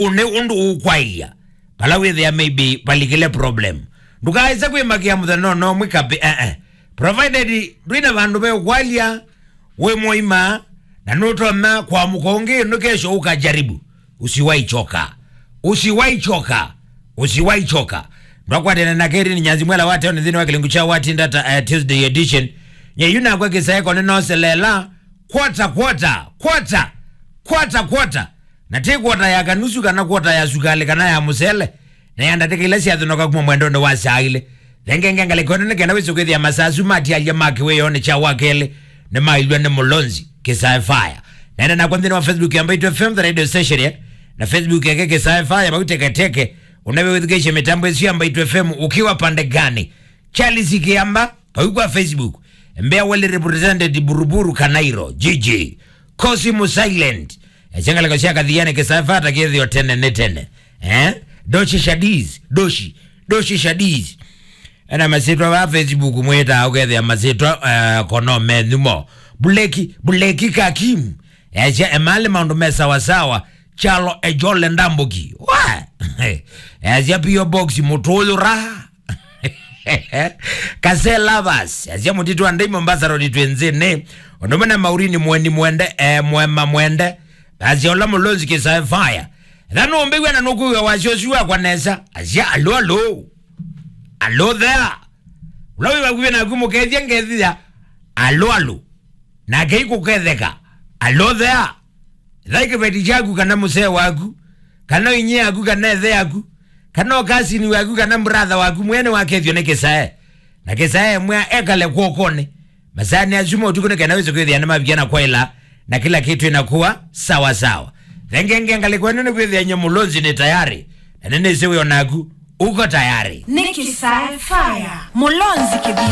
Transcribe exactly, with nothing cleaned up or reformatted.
ũne ũndũ ũkwaĩlya vala wĩthĩa maybe valikile problem. Ndũkaĩse kwĩmakĩa mũthenya no no mwĩkapi, eh, eh. Provided ndwĩna vandũ ve ũkwalya, wĩ mũima, na nũtonya kwamũka ũngĩ nĩ kesho ũkajaribu. Usiwahi choka. Usiwahi choka. Usiwahi choka. Ndwakwatene na Keri ni Nyanzi Mwela wa Teoni nthĩnĩ wa kĩlungu kya Watinda ta, eh, Tuesday edition. Nye yu nakwa kĩsaeko nĩ noselela. Kwata, kwata, kwata, kwata, kwata. Na ti kwata ya kanusu kana kwata ya sukali kana ya mũsele. Na ya ndatĩka ila syathinoka kuma mwendonĩ wa saa ilĩ. Thengenge ngalĩko ĩno nĩ kenda wĩsũkĩthĩa masasu matialya ma kĩwĩonĩ kya wa kelĩ nĩ mailw'a nĩ Mũlonzi Kĩsae Fire. Nenda nakwa nthĩnĩ wa Facebook ya Mbaitu F M, the radio station, eh? Na Facebook yake Kĩsae Fire, vau teketeke. Unawe wĩthukĩĩsye mĩtambo ĩsu ya Mbaitu F M ukiwa pande gani? Charles Kiamba, vau kwa Facebook. Mbea well represented Buruburu Kanairo, G G. Kosi mu silent. Esya ngalĩko sya Kathiani Kĩsae Fire ta kĩthĩo tene nĩ tene. Eh? Doshi Shadiz, Doshi, Doshi Shadiz. Ena masyĩtwa va Facebook mwĩtaa ũkethĩa masyĩtwa, eh, kono menyu mo. Buleki, Buleki Kakim. Esya emali maũndũ me sawa sawa. Chalo Ejole Ndambuki. Wa! Esya P O Box mũtũyũ raha. Kase Lovers, asya mũtitũ wa ndei Mombasa Road twĩ nzĩnĩ. Ũndũ ũmwe na Maurini Mweni Mwende, eh, Mwema Mwende. Asya ũla Mũlonzi Kĩsae Fire. Etha nũmbĩw'a na nũkwĩw'a wasya ũsu wakwa nesa. Asya, "Alo, alo. Alo there." Ũla wĩ vakuvĩ naku mũkethya ngethia. Alo, alo. Nake ikũketheka. Alo there. Ethai kĩveti kyaku kana mũsee waku, kana inyia yaku kana ethe yaku, kana ũkasini waku kana brother waku mwene wakethyo nĩ kĩsae. Na kĩsae mwa ekale kw'okonĩ. Masaanĩ asu ma ũtukũ nĩ kenda wĩse kwĩthĩa nĩ mavikia na kwaĩla na kĩla kĩtu ĩnakuwa sawa sawa. Thengenge ngalĩko ĩno nĩ kwĩthĩa nye Mũlonzi nĩ tayari. Na nĩnĩsĩ wĩ onaku uko tayari. Nĩ Kĩsae Fire. Mũlonzi kĩthini.